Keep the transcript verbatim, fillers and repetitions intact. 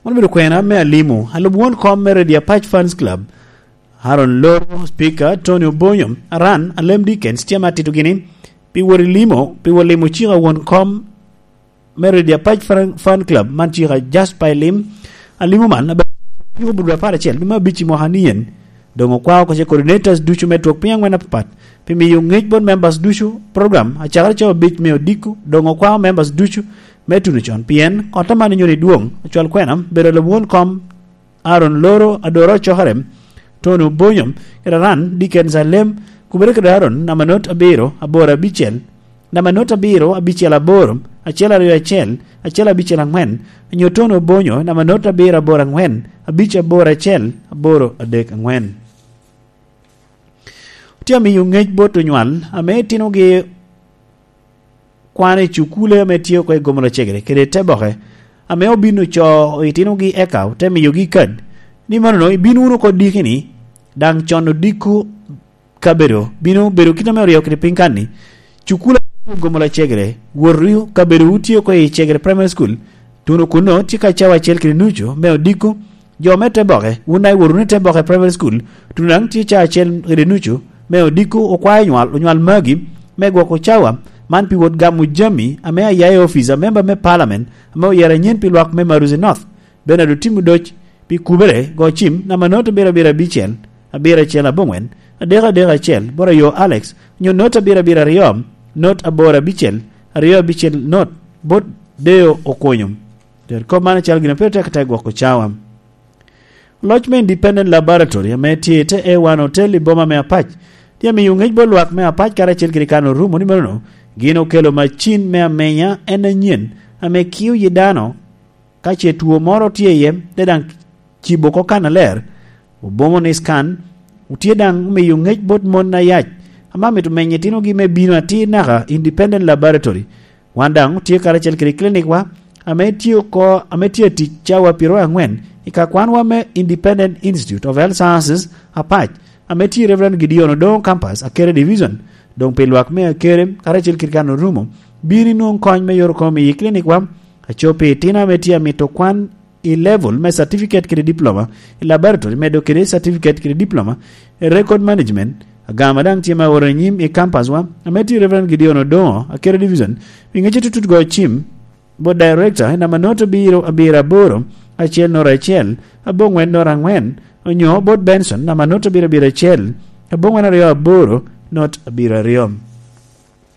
Wan obedo kwena me alimo, alub won kom me Redia Patch Fans Club, Aaron Loro, Speaker, Tony Obonyo, Aran, Alem Dickens, tye ame atito gini, pi wot i limo, pi wot limo cika won kom me Redia Patch Fan, Fan Club, man cika Jasper Elim, alimo man, abe-, ciko budwa apar acel, me abic i mwaka ni en, dong okwao oko ce coordinators ducu me twok piny angwen apapat, pi miyo ngec bot members ducu, program, acakere cawa abic me odiko, dong okwao members ducu, me tuno con, pien ot aman nyoni dwong, acwal kwena, bedo alub won kom, Aaron Loro, Adora Ocokerem, Tony Obonyo, kede Aran, Dickens Alem, Kubere kede Aaron, namba not abiro, aboro abicel, namba not abiro, abicel aboro, acel aryo acel, acel abicel angwen, nyo Tony Obonyo, namba not abiro, aboro angwen, abic aboro acel, aboro adek angwen. Tye amiyo ngec bot onywal, ame itinogi kwano i cukule ame tye oko i Gomola Cegere kede Teboke, ame obin ocoo itinogi eka ote miyogi kad, ni manono ibin wunu oko diki-ni, daŋ con odiko kabedo bino bedo kit ame oryeyo kede piny kan-ni. Cukule ame tye i Gomola Cegere, wotu kabedo wutye oko i Cegere Primary School, tuno kunno tye ka cawa acel kede nucu me odiko, Jo me Teboke, wun daŋ iwoto wunu i Teboke Primary School, tuno daŋ tye ca acel kede nucu, me odiko okwayo onywal, onywal magi, me gwoko cawa, man pi wot gamo jami ame aya i ofice a member me parliament, ame oyero anyen pi lwak me Maruzi North, Bernard Otim Odoc, pi kubere, go cim, namba not abiro abiro abicel, abiro acel abongwen, adek adek acel, bot ayo Alex, nyo not abiro abiro aryo, not aboro abicel, aryo abicel not, bot Deo Okonyo. Ter kop man acalo gin a pire tek tek gwoko cawa. Loc me Independent Laboratory ame tye i te A one Hotel i boma me Apac, tye amiyo ngec bot lwak me Apac karacel kede kan orumo ni manono gin okelo macin me amenya en anyen ame kio yi dano ka ce two moro tye iye, te daŋ cibo oko kan aler, obomo ni scan, otye daŋ omiyo ngec bot mon ayac ame amito menyo itinogi me bino atir naka Independent Laboratory. Wan daŋ otye karacel kede clinic wa ame tye oko, ame tye atic cawa pyeraryo angwen i ka kwanwa me Independent Institute of Health Sciences, Apac, ame tye i Reverend Gideon Odongo Campus, Akere Division. Doŋ pi lwak me Akere, karacel kede kan orumo, bino inwoŋ kony me yore komi i clinic wa, aco pi itino ame tye amito kwan i level me certificate kede diploma i laboratory, medo kede certificate kede diploma i record management, agama daŋ tye me oro anyim i campus wa, ame tye Reverend Gideon Odongo, Akere Division. Pi ŋec atutut, go cim bot director i namba not abiro abiro aboro, acel not acel, abongwen not angwen, onyo bot Benson namba not abiro abiro acel, abongwen aryo aboro, not abiro aryo.